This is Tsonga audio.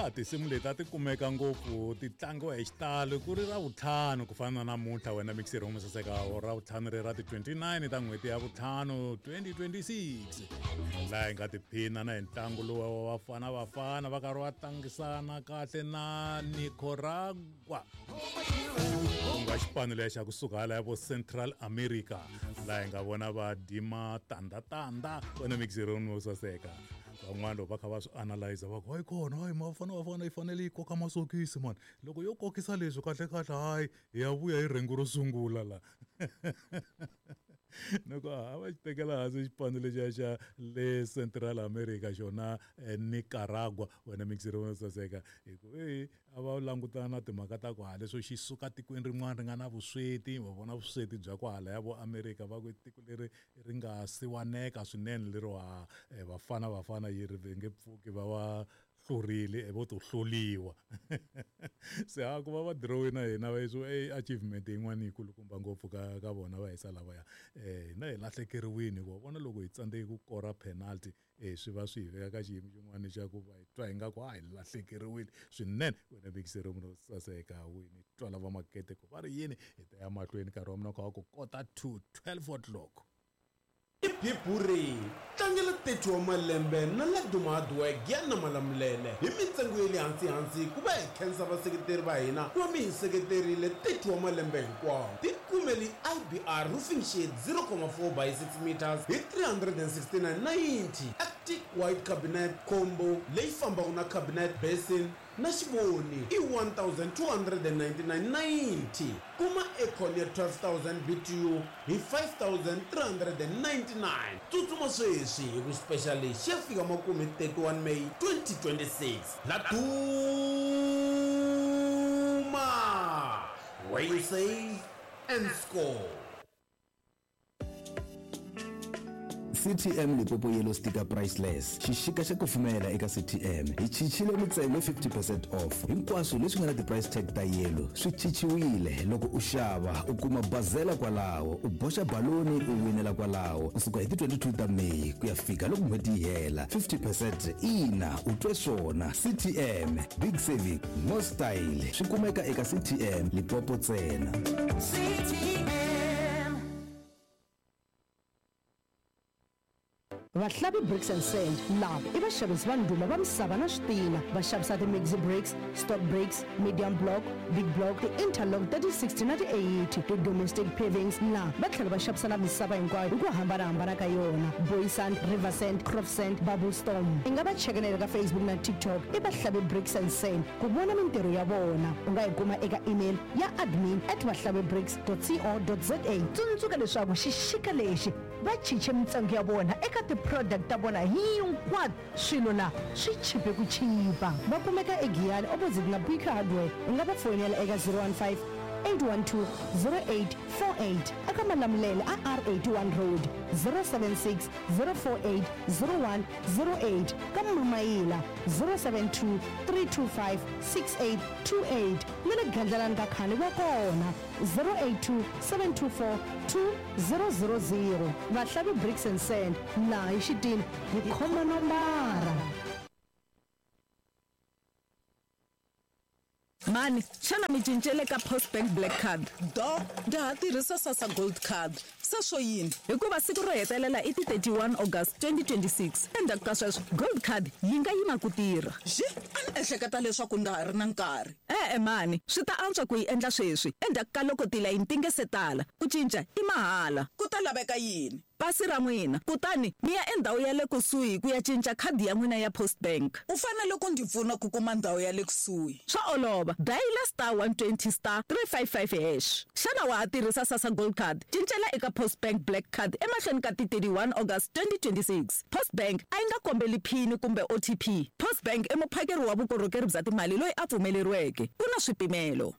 Ya tinsimu leti a ti kumeka ngopfu ti tlangiwa hi xitalo ku ri ra vutlhanu ku fana na namuntlha wena mixer wo saseka ra vutlhanu ri ra ti 29 ta n'hweti ya vutlhanu 2026 laha hi nga tiphina na hi ntlangu lowu wa vafana vafana va karhi va tlangisana kahle na Nicaragua ku nga xipano leya xa kusuka hala ya vo Central America laha hi nga vona va dima tanda tanda wena mixer wo saseka Van'wana loko va kha va swi analyze va ku hayi kona hayi mafana vafana yi fanele yi koka masokisi mani loko yo kokisa leswi kahle kahle hayi hi ya vuya hi rhengu ro sungula la ni ku a va xi tekela hansi xipano lexiya xa le Central America xona eh, Nicaragua wena mixere wo saseka hi ku e a va langutana na timhaka ta ku ha leswo xi suka tikweni rin'wana ri nga na vusweti va vona vusweti bya kwahala ya vo America va ku tiko leri ri nga siwaneka swinene lero ha eh, vafana vafana yi ri nge pfuki va va hlurile eh, vo to hluriwa se ha ku va va dirowi na hina va yiswo e achievement yin'wana yi kulukumba ngopfu ka ka vona va hisa lavaya eh hina hi lahlekeriwini hikuva vona loko hi tsandzeke ku kora penalty E swi va swi hi veka ka xiyimo xin'wana xa ku va hi twa ingaku a hi lahlekeriwile swinene. Wena vekiseri munhu wo saseka wini twala va makete ku va ri yini hi ta ya mahlweni nkarhi wa mina kha wa ku kota to 12 o'clock. Biburi, Tlangela 30 wa malembe na Laduma Hardware Giyani na Malamulele hi mintsengo ya le hansi hansi ku va hi khensa vaseketeri va hina ku va mi hi seketerile 30 wa malembe hinkwawo. Tikumeli IBR Roofing Sheet 0,4 by 6 meters hi 369.90. Arctic White Cabinet Combo leyi fambaka na cabinet basin na xivoni i 1299.90. Kuma aircon ya 12000 BTU hi 5399. Tsutsuma sweswi hi ku special lexi xi ya fika makumu hi 31 May 2026. La Duma! Where you save and score. CTM Limpopo Yellow Sticker Priceless, Xixika xa kufumela eka CTM. Hi chichile mintsengo hi 50 percent off. Hinkwaswo leswi nga na ti-price tag ta yellow swi chichiwile. Loko u xava, u kuma bazela kwalaho, u boxa baloni u winela kwalaho ku suka hi ti 22 ta May ku ya fika loko n'hweti yi hela. 50 percent, ina, u twe swona. CTM, big saving, more style. Swi kumeka eka CTM Limpopo ntsena. CTM. Vahlavi Bricks and Sand lava i vaxavisi va ndhuma va misava na switina. Va xavisa ti-maxi bricks, stock bricks, medium block, big block, ti-interlock ta ti-60 na ti-80, ti-domestic pavings na va tlhela va xavisa na misava hinkwayo hi ku hambana-hambana ka yona, boy sand, river sand, crop sand, bubble storm. I nga va cheka na le ka Facebook na TikTok i Vahlavi Bricks and Sand ku vona mintirho ya vona. U nga yi kuma eka email ya admin at vahlavibricks dot co dot za. Tsundzuka leswaku xixika lexi va chiche mintsengo ya vona eka ti-product ta vona hinkwato, swilo la swi chipe ku chipa. Va kumeka eGiyani opposite na Bika Hardware. U nga va foyinela eka 015 812 0848 eka Malamulele a R81 Road, 076 048 0108 ka Mamayila, 072 325 6828 na le Gandlalani ka Khani va kona, 082 724 2000. Vahlavi Bricks and Sand, laha hi xitini hi khoma nombara. Mhani, xana mi cincele ka Postbank Black Card? Doo, ndza ha tirhisa Sassa Gold Card. Se swo yini? Hikuva siku ro hetelela i ti 31 August 2026. Endzhaku ka sweswo, Gold Card yi nga yima ku tirha. Xi, a ni ehleketa leswaku ndza ha ri na nkarhi. E-e mhani, swi ta antswa ku yi endla sweswi, endzhaku ka loko tilayini ti nge se tala. Ku cinca i mahala. Ku ta laveka yini? Pasi ra n'wina, kutani mi ya endhawu ya le kusuhi ku ya cinca khadi ya n'wina ya Postbank. U fanele ku ndzi pfuna ku kuma ndhawu ya le kusuhi. Swa olova, dayila *120 *355 hash. Xana wa ha tirhisa Sassa Gold Card? Cincela eka Postbank Black Card emahlweni ka ti 31 August 2026. Postbank a yi nga kombeli phini kumbe OTP. Postbank i muphakeri wa vukorhokeri bya timali loyi a pfumeleriweke. Ku na swipimelo.